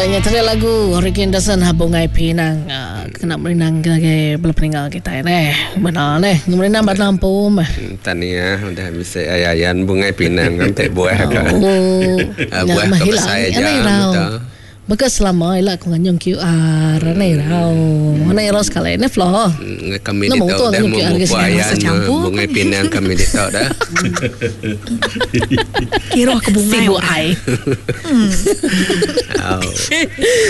Ya nya tadi lagu Ricky Anderson ha Bungai Pinang ah, kena merindang ke ngagai bala peninggal kitai neh. Bena neh merindang ba lampu meh. Tania udah bisi ayan bungai pinang enti buah ka. Oh, Ah, nya buah meh ka ila besai aja anang irau. betul. Baka selama ila aku nganjung QR anang irau. Anang irau sekali neh Flo. Kami Nemu ditu tu dah nganjung QR memupuk ke ayan campur bungai pinang kami ditu dah. Kiruh ke bungai Sibuk orang. ai. Au.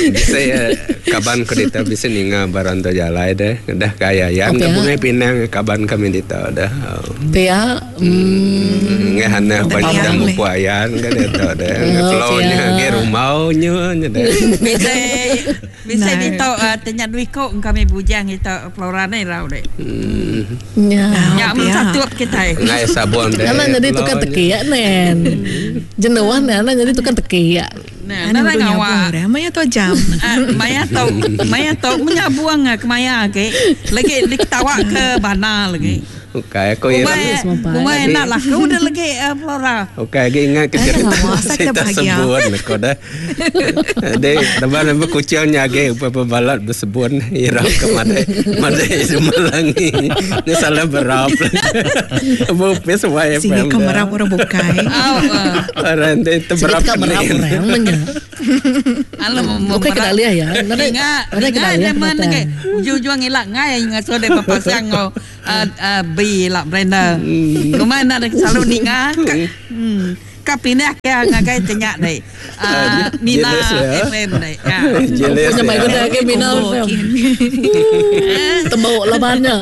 Bisi eh, kaban ku ditu bisi ninga ba rantau jalai deh. Dah ke ayan Oh, ke pia. bungai pinang kaban kami ditu dah. Au. Pia. Hmm. Ngah anak banyak Pia dah meh. mupuk ayan ke ditu deh. Oh, Flow nya pia. agi rumau nya nya deh. Bisi bisi Nah. ditu uh, tanya duit ko kami bujang itu Flora ni rau dek. Nya. Nya mun pia. satup kitai. Ngai sabun deh. Anak jadi tukang Flow nya. teki ya nen. Jenuh nen anak jadi tukang teki ya. Nah, Ana nara udah nyabung ngawa. dah. Maya tu jam. Ah, maya tu maya tu menyabuang ah, kemaya agi. Lagi diketawa ke bana lagi. Ukai aku ira. Umai Semampai. umai enak laku dah lagi uh, Flora. Ukai agi ingat ke Ana cerita ngawa asal kita cerita bahagia. sebun aku dah. Jadi lepas lepas kucing nya agi upai pebalat bersebun ira ke madai madai semalangi. Ni salah berap. Bupis Sini YFM ke dah. merap orang bukai. Au. Uh. Orang tu Sikit terberap ka merap ni. orang menya. Alam Bukan kena alih ya. Nadai Ingat, nadai kena ingat alih zaman kata. lagi. Ujung-ujung ilak ngai ngasuh dia berpasang ngau B lah Brenda. Rumah nak selalu ninga. Ka, ka pindah ke ngagai tanya deh. Mina Jealous ya. FM deh. Ya. Jealous Punya ya. mai guna ke Mina Combo FM. kin. Tembok labannya.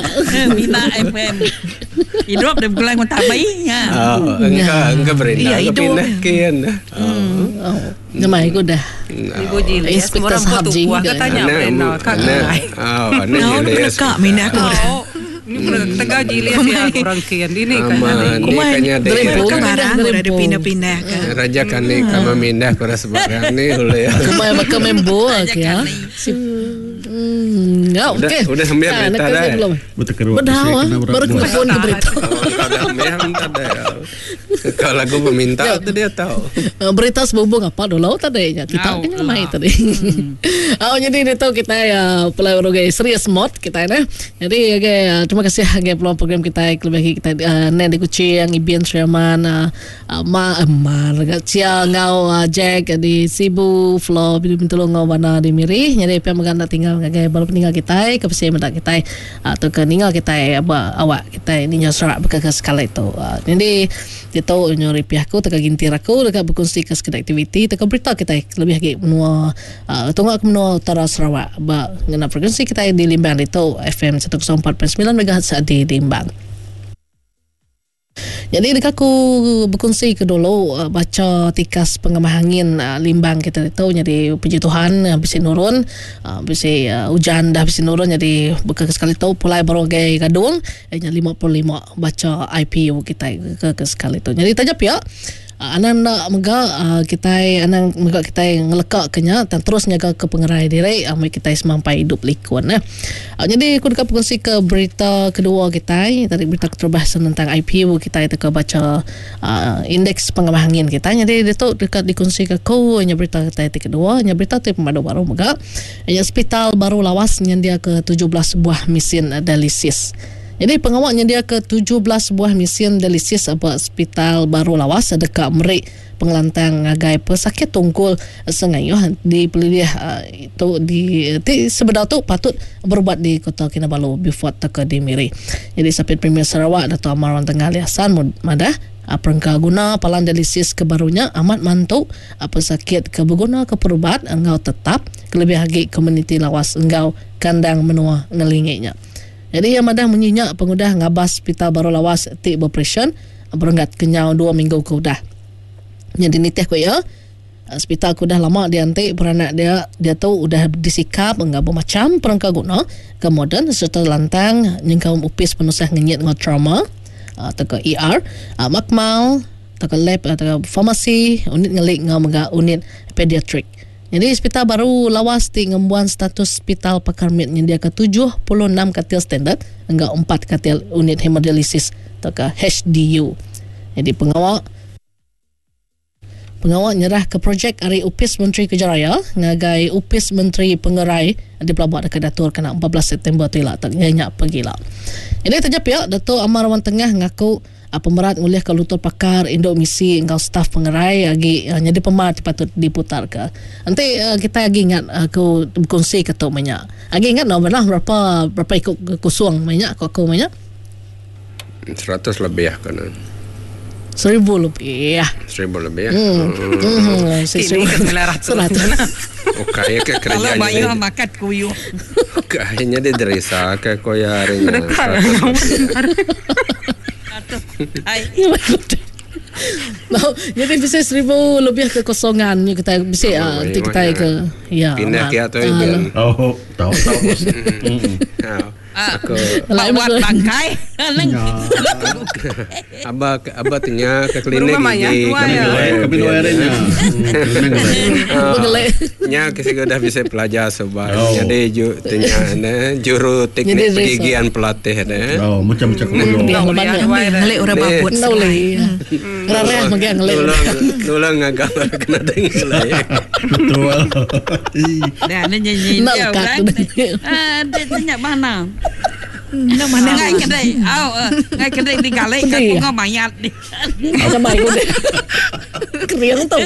Mina FM. Hidup dia bergulang tabai ya. Oh, engkau engkau berenda Iya, ke hidup. pindah kian. Oh. Oh, nyamai guna. Ibu Jilis, Inspektor orang Sahab buat Ji buah ke. katanya Anak, Brenda kak anak, kenai. oh, anak Nah, udah jealous. kena mina aku. Oh, ini pernah tegal Jilis ya orang kian ini Aman, kayaknya. ni Kumai. kayaknya dia. Derempung. Ke barang udah Derempung. dipindah-pindah ke. Raja kani kama mindah kura sebarang ni oleh. Kumai baka membo ke ya. Si ya, Udah- okey. udah hampir Ah, berita nak dah. kasi belum? Bertekeruk Bedau ah, baru kena phone ke berita. Oh, kau dah ambil, tak ada. Kalau lagu peminta tu dia tahu. Berita sehubung apa dulu tadi ya kita Au kan ramai lah. tadi. Oh jadi itu kita ya pelai urugai serius mod kita ne. Jadi okay, terima kasih okay, peluang program kita lebih kita uh, nen di Kuching, Ibian Sherman, uh, Ma uh, Ma Cia ngau uh, Jack di Sibu, Flo di Bintulu ngau Wana di Miri. Jadi pihak meganda tinggal ngagai baru peninggal kita ke pesi mendak kita atau ke ninggal kita apa awak kita ini nyoserak berkeka sekali itu. Uh, jadi itu nyuri pihak aku teka gintir aku dekat berkongsi ke sekedar aktiviti teka berita kita lebih lagi menua uh, tunggak ke menua utara Sarawak ba ngena frekuensi kita di Limbang itu FM 104.9 MHz di Limbang. Jadi dekat aku berkongsi ke dulu baca tikas pengemah angin Limbang kita itu jadi puji Tuhan bisi nurun bisi hujan dah bisi nurun jadi bekal sekali tu pulai baru gai gadung nya 55 baca IPU kita ke sekali tu. Jadi tajap ya Anang nak mega kita anang mega kita ngelekak kenya dan terus nyaga ke pengerai diri amai kita semampai hidup likun eh. Jadi aku dekat berkongsi ke berita kedua kita tadi berita keterbahas tentang IPU kita itu ke baca indeks pengemah angin kita. Jadi dia tu dekat dikongsi ke ku nya berita kita itu kedua nya berita tu pemadu baru mega nya hospital baru lawas nya dia ke 17 buah mesin dialisis. Jadi pengawalnya dia ke 17 buah mesin dialisis apa hospital baru lawas dekat Merik pengelantang ngagai pesakit tungkul Sengayuh di pelilih itu di, di sebenar tu patut berubat di Kota Kinabalu before teka di Miri. Jadi Sapit Premier Sarawak Dato' Amar Wan Tengah Ali Hassan madah perengka guna palan dialisis kebarunya amat mantu pesakit ke berguna ke perubat engau tetap kelebih lagi komuniti lawas engau kandang menua ngelingiknya. Jadi yang madah menyinya pengudah ngabas hospital baru lawas ti beroperation berenggat kenyau 2 minggu ke udah. Jadi nitih ku ya hospital ku dah lama diantik beranak dia dia tu udah disikap enggak bermacam perengka guna ke moden serta lantang nyengkaum upis penusah ngenyit ngau trauma atau ke ER makmal atau ke lab atau ke farmasi unit ngelik ngau mega unit pediatrik. Jadi hospital baru lawas ti ngembuan status hospital pakar med nyediakan 76 katil standard enggak 4 katil unit hemodialisis atau ke HDU. Jadi pengawal Pengawa nyerahka projek ari Opis Menteri Kerja Raya ngagai Opis Menteri Pengerai dipelaba deka diatur kena 14 September tu ila iya nya pegila. Nyadi taja pia, Datuk Amar Awang Tengah ngaku pemerat ngulihka lutur pakar indu misi enggau staf pengerai agi nyadi pemar ti patut diputarka. Enti kitai agi ingat aku bekunsika tu meh nya. Agi ingat enda bala berapa berapa iku kusung meh nya ku aku meh nya. 100 lebih aku ne. Seribu lebih. Seribu lebih. Hmm. Hmm. Kini ke 900. Ukai ke kerja Kalau bayar makan kuyuh. Ukai nya di derisa ke ko ya hari nya. Ai. No, jadi bisa seribu lebih kekosongan ni kita bisa uh, nanti kita ke ya. Pindah ke tu. Oh, tahu tahu. Aku Buat bangkai. Aba aba tenya ke klinik Berumah mayat gigi tua kami ya. dua Kami dua hari nya. Pengelek. Nya ke siga dah bisa pelajar suba. Oh. Jadi ju tenya ne juru teknik Jadi resa. pergigian pelatih ne. Oh, macam-macam kulo. Dia Boleh leban dua ya. Ngelik orang Ni. babut Enda boleh. Rareh mega ngelik. Tolong tolong ngagak kena dengar lah. Betul. Ih. Dah ni nyanyi Nak dia lekat orang. tu. Ah, dia tanya mana? Nak mana Ngai kedai. Au, ngai kedai di galik kat Pedih. bunga mayat ni. Macam baik udah. Kering tu.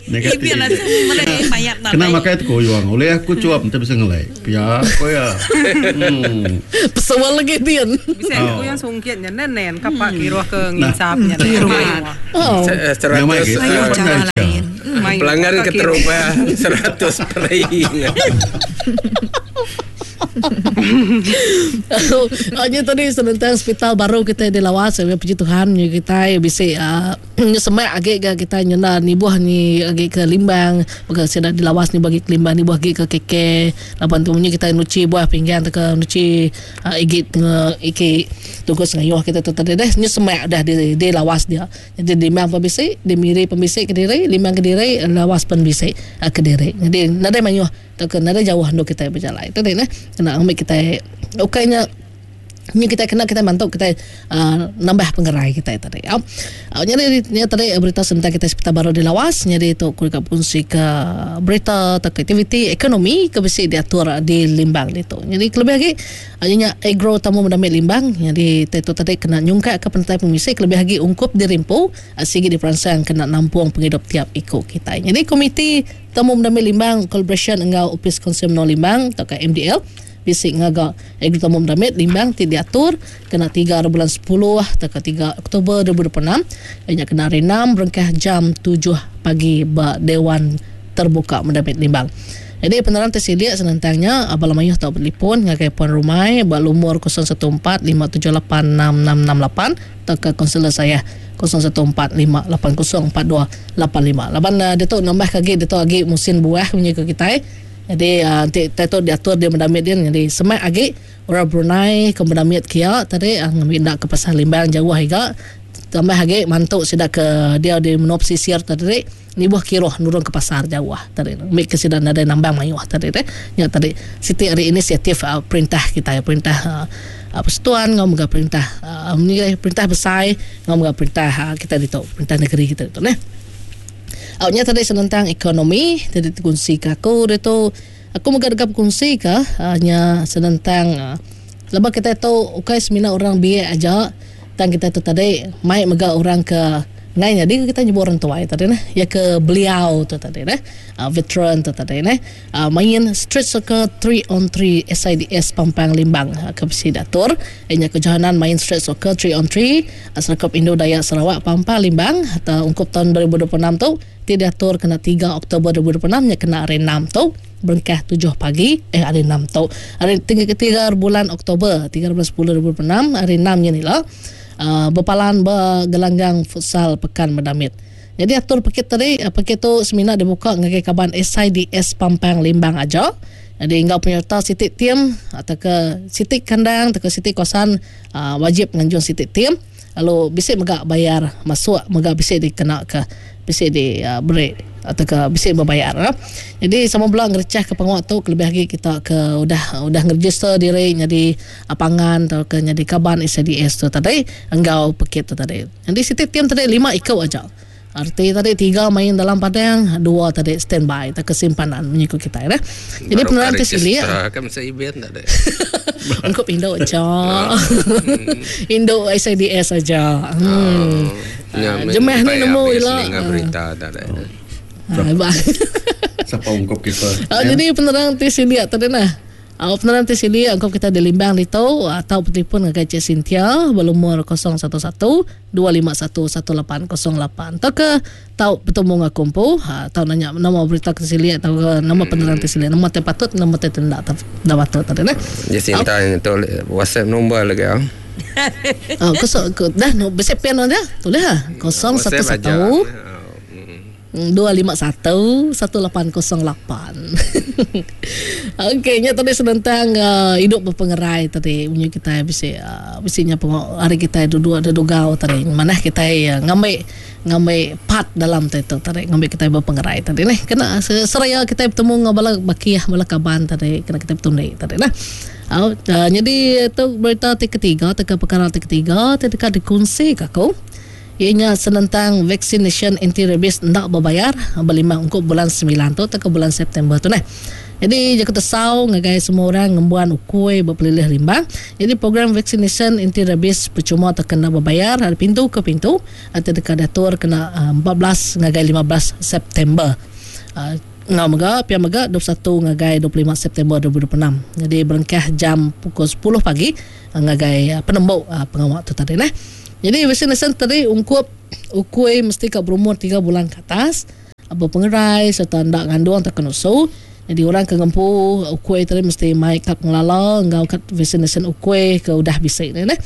Negatif. Ibi lah mereka mayat nak. Kena makai tu koyong. Oleh aku cuap nanti bisa ngelai. Pia koya. Hmm. Pesawal lagi dia. Bisa aku yang sungkit nya nenen kapak kiruh ke nginsap nya. Oh. Nama 100 lagi. Mayuh cara lain. pelanggan keterubah 100 peri. Oh, nya tadi senentang hospital baru kita di Lawas, saya puji Tuhan nya kita bisa uh, semak agi ke kita nyenda ni buah ni agi ke Limbang, bukan saya di Lawas ni bagi ke Limbang ni buah agi ke KK. Lapan tu nya kita nuci buah pinggan tu ke nuci uh, igi nge iki tugas ngayuh kita tu tadi deh nya semak dah di di Lawas dia. Jadi di Limbang pembisi, di Miri pembisi ke diri, Limbang ke diri, Lawas pembisi uh, ke diri. Jadi nadai mayuh tu ke nadai jauh ndo kita berjalan. Itu deh kena ambil kita okaynya ni kita kena kita bantu kita uh, nambah pengerai kita tadi. Ya. Jadi ni tadi berita tentang kita sekitar baru di Lawas jadi tu ku dekat fungsi ke berita atau aktiviti ekonomi ke besi diatur di Limbang itu. Jadi kelebih lagi nya agro tamu mendamik Limbang jadi itu tadi kena nyungkak ke pentai pemisi kelebih lagi ungkup di Rimpu sigi di perangsang kena nampung penghidup tiap ikut kita. Jadi komiti tamu mendamik Limbang collaboration enggau Office Konsumen Limbang atau ke MDL bisi ngaga agro tamu mendamik Limbang ti diatur kena 3 bulan 10 atau ke 3 Oktober 2026 nya kena hari 6 berengkah jam 7 pagi ba Dewan Terbuka Mendamik Limbang. Jadi penerang tersilik senentangnya Abang Lamayuh tau bertelefon ngagai Puan Rumai ba lumur 014 578 6668 atau ke konselor saya 014 580 4285. Laban uh, dia tu nambah kagi dia tu agi musim buah punya ke kita. Jadi nanti uh, tu diatur dia mendamit dia jadi semak agi orang Brunei ke mendamit kia tadi uh, ngambil nak ke pasar Limbang jauh hingga tambah agi mantuk sida ke dia di menua pesisir tadi ni buah kiroh nurun ke pasar jauh tadi mik ke sida nadai nambang mayuh tadi teh nya tadi siti hari inisiatif uh, perintah kita perintah uh, persatuan ngau mega perintah uh, ni perintah besar ngau mega perintah uh, kita ditu perintah negeri kita ditu neh. Awaknya tadi senentang ekonomi tadi kunsi ke aku dia tu aku mega dekat berkongsi ke hanya senentang uh, lepas kita tu ukai semina orang biak aja tang kita tu tadi mai mega orang ke ngai jadi kita nyebut orang tua tadi nah ya ke beliau tu tadi nah uh, veteran tu tadi nah uh, main street soccer 3 on 3 SIDS Pampang Limbang uh, ke besi datur nya kejohanan main street soccer 3 on 3 Serkop Indo Dayak Sarawak Pampang Limbang atau ungkup tahun 2026 tu ti diatur kena 3 Oktober 2026 nya kena hari 6 tu berengkah 7 pagi hari 6 tu hari 3 bulan Oktober 3 bulan 10 2026 hari 6 nya ni lah uh, berpalan bergelanggang futsal Pekan Medamit. Jadi atur paket tadi paket tu semina dibuka ngagai kaban SIDS Pampang Limbang aja. Jadi enggau penyerta sitik tim atau ke sitik kandang atau ke sitik kawasan uh, wajib nganjung sitik tim. Lalu bisa mega bayar masuk mega bisa dikena ke bisa di uh, beri atau ke bisa berbayar. Ya. Jadi sama pula ngerecah ke penguat tu lebih lagi kita ke udah udah ngeregister diri jadi pangan atau ke jadi kaban SIDS tu tadi enggau paket tu tadi. Jadi sitik tim tadi 5 ikut aja. Arti tadi tiga main dalam padang, dua tadi standby tauka simpanan munyi ku kitai neh. Jadi Baru penerang ka ti silik. register ka masa ibin tadi. Ungkup indu aja. Indu SIDS aja. Hmm. Nya Ah, jemah ni sampai nemu habis ila. Ninga berita tadi. Ah, ba. Sapa ungkup kita. Ah, jadi penerang ti silik tadi nah. Ah, penerang ti silik ungkup kita di Limbang ditu atau telefon ngagai Cik Cynthia berlumur 011 251 1808 tauka tau betemu enggau aku empu tau nanya nama berita ke silik tauka nama penerang ti silik nama ti patut nama ti enda enda patut tadi neh. Jacinta nyentuk WhatsApp nombor lagi ah. Oh, kosong dah bisi pen dia tulis ah 011 251 1808. Okey, nya tadi senentang uh, hidup berpengerai tadi munyi kitai bisi uh, bisi nya pengo hari kitai duduk dedugau tadi manah kitai uh, ngambi ngambi part dalam ti tu tadi ngambi kitai berpengerai tadi neh kena seraya kitai betemu enggau bala bakih bala kaban tadi kena kitai betundi tadi nah. Au uh, nyadi tu berita ti ketiga tauka perkara ti ketiga ti deka dikunsi ka aku. Iya nya senentang vaksinasyen anti-rabies enda bebayar belima ungkup bulan semilan tu tauka bulan September tu neh. Nyadi jaku tesau ngagai semua orang ngembuan ukui ba pelilih Limbang. Nyadi program vaksinasyen anti-rabies pechuma tauka enda bebayar ari pintu ke pintu ti deka diatur kena 14 ngagai 15 September. Enggau mega pia mega 21 ngagai 25 September 2026. Nyadi berengkah jam pukul sepuluh pagi ngagai penembu pengawa tu tadi neh. Nyadi vaksinasyen tadi ungkup ukui mesti ka berumur tiga bulan ke atas, bepengerai sereta enda ngandung tauka nusu. Nyadi orang ke ngempu ukui tadi mesti mai kad pengelala enggau kad vaksinasyen ukui ke udah bisi ne neh.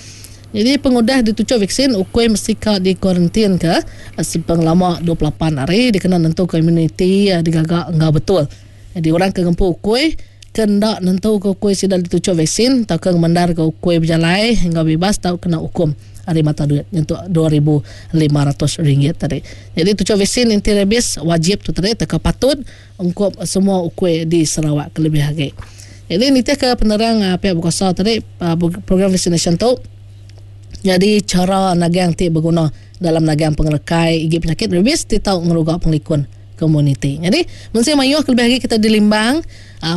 Nyadi pengudah dituchuk vaksin, ukui mesti ka dikuarantin ke sepengelama 28 hari dikena nentuka imuniti digaga enggau betul. Nyadi orang ke ngempu ukui ke enda nentuka ukui sida dituchuk vaksin tauka ngemendarka ukui bejalai enggau bibas tau kena ukum ari mata duit nyentuk RM2,500 tadi. Nyadi tuchuk vaksin anti rabies wajib tu tadi tauka patut ungkup semua ukui di Sarawak kelebih agi. Nyadi nitihka penerang piak bekuasa tadi program vaksinasyen tu nyadi chara nagang ti beguna dalam nagang pengerekai igi penyakit rabies ti tau ngeruga pengelikun komuniti. Nyadi, mensia mayuh kelebih agi kitai di Limbang,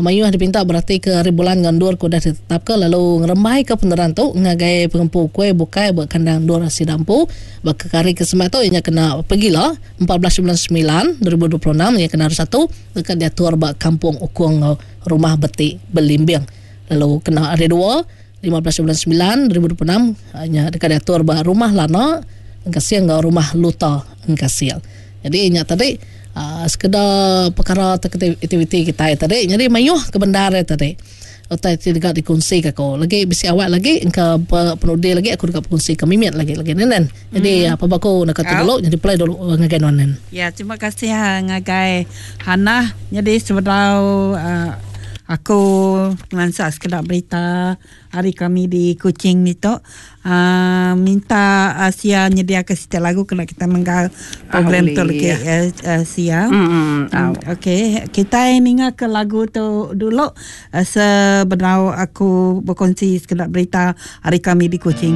mayuh dipinta beratika hari bulan enggau endur ke udah ditetapka lalu ngerembaika penerang tu ngagai pengempu kuih bukai ba kandang endur sida empu. Baka ke hari ke semak tu iya nya kena pegila 14 bulan semilan 2026 iya kena hari Satu deka diatur ba Kampung Ukong enggau Rumah Beti Belimbing lalu kena hari Dua 15 bulan semilan 2026 nya deka diatur ba Rumah Lana Engkasing enggau Rumah Luta Engkasing. Jadi nya tadi uh, sekeda perkara aktiviti kitai tadi. Jadi mayuh ke bendar ya tadi. Utai ti deka dikunsi ke aku. Lagi bisi awak lagi engka penudi lagi aku deka berkunsi ke mimit lagi lagi nen. Jadi apa baku nak kata dulu jadi play dulu ngagai nuan nen. Ya terima kasih ngagai Hannah. Jadi sebedau uh, aku ngelansa sekeda berita ari kami di Kuching ditu uh, minta Asia nyediaka siti lagu kena kita menggal program tu lagi Asia. Mm, Okey, kitai ninga ke lagu tu dulu uh, sebedau aku berkongsi sekeda berita ari kami di Kuching.